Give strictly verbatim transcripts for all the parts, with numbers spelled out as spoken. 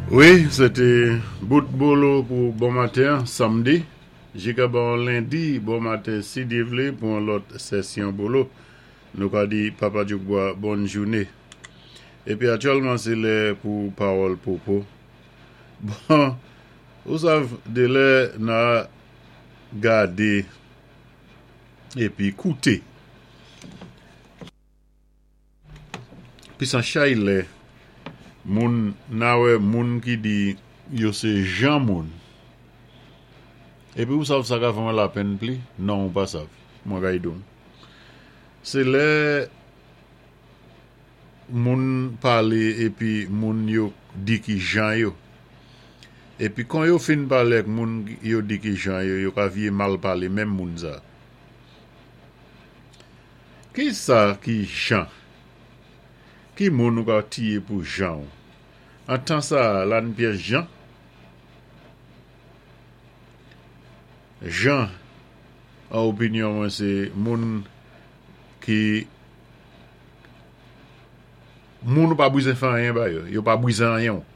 Wi, sé té bout bolo pou bon maten, sanmdi. Jika bon lendi, bon maten, si Dye vlé, pou yon lòt sesyon bolo. Nou ka di Papa Djoukbois bòn jouné. Épi aktyèlman sé lè pou pawòl popo. Bon, ou sav dé lè na gadé épi kouté. Pisan chay lè moun na wè moun ki di yo sé jan moun. Épi ou sav sa ka fè mwen lapenn pli? Non, ou pa sav. Mwen kay di ou. Sé lè moun palé épi moun yo di ki jan yo. Épi kon yo fin palé ak moun yo di ki jan yo, yo ka vyé mal palé menm moun sa. Ki sa ki jan? Ki moun ou ka tiyé pou jan ou? An tan sa, la ni pyès jan? Jan, an opinyon mwen sé moun ki moun ou pa bwizen fè anyen ba yo, yo pa bwizen anyen ou.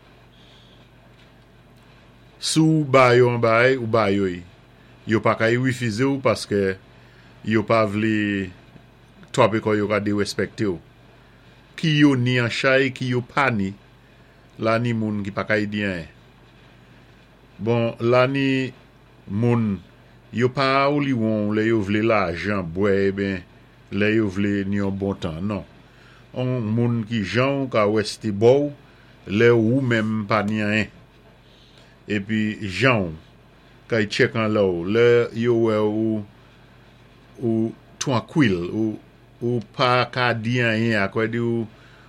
Si ou ba yo an bay, ou ba yo yi. Yo pa ka yi refize ou paske yo pa vle twapé kò yo ka déwéspèkté ou. Ki yo ni an chay, ki yo pa ni, la ni moun ki pa ka yi di anyen. Bon, la ni moun, yo pa ou li won lè yo vlé lajan bwè, eh ben, lè yo vlé ni yon bon tan, non. On moun ki jan ou ka wèsté bò ou, lè ou menm pa ni anyen. Épi jan ou, kay tchèk an lè ou, lè yo wè ou ou twankwil, ou, ou pa ka di anyen, akwè di ou,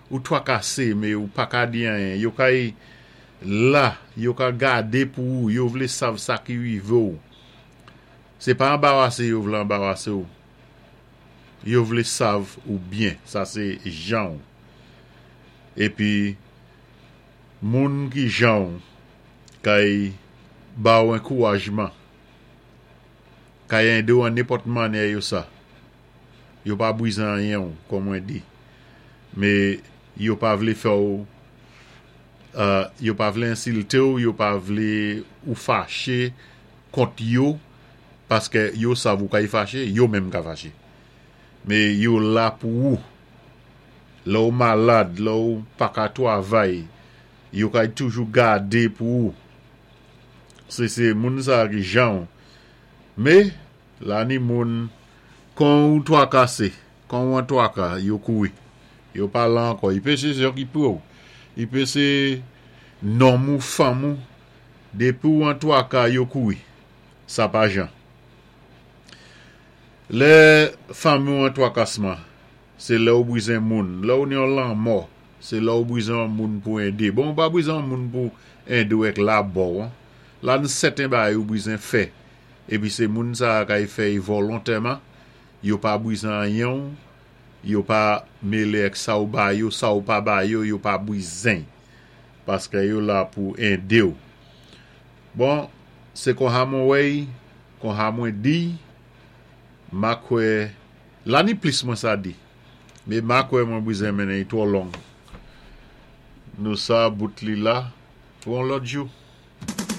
ou twakasé, mé ou pa ka di anyen. Yo kay la, yo ka gadé pou ou, yo vlé sav sa ki rivé ou. Sé pa anbawasé yo vlé anbawasé ou. Yo vlé sav ou byen, sa sé jan ou. Épi, moun ki jan ou, kay ba ou ankourajman, kay édé ou an nenpòt mannyè yo sa. Yo pa bwizen anyen ou, kòm mwen di. Mé yo pa vlé fè ou, euh, yo pa vlé ensilté ou, yo pa vlé ou faché kont yo, paské yo sav ou kay faché, yo menm ka faché. Mé yo la pou ou. Lè ou malad, lè ou pa ka twavay, yo kay toujou gadé pou ou. Sé sé moun sa ki jan ou. Mé, la ni moun, kon ou twakasé, kon ou an twaka, yo kouri. Yo pa la ankò. I pé sé yo ki pou ou. I pé sé nonm ou fanm ou, dépi ou an twaka, yo kouri. Sa pa jan. Lè fanmi ou an twakasman, sé lè ou bwizen moun. Lè ou ni yon lanmò, sé lè ou bwizen moun pou édé. Bon, ou pa bwizen moun pou édé ou ek la bo. La ni sèten bagay ou bwizen fè. Épi sé moun sa kay fè y volontèman, yo pa bwizen anyen ou, yo pa mélé ek sa ou ba yo, sa ou pa ba yo, yo pa bwizen. Paské yo la pou édé ou. Bon, sé kon ha mwen wèy, kon ha mwen di, ma kwè, la ni plis mwen sa di, mé ma kwè mwen bwizen mennen yi twò long. Nou sa bout li la, pou yon lòt jou.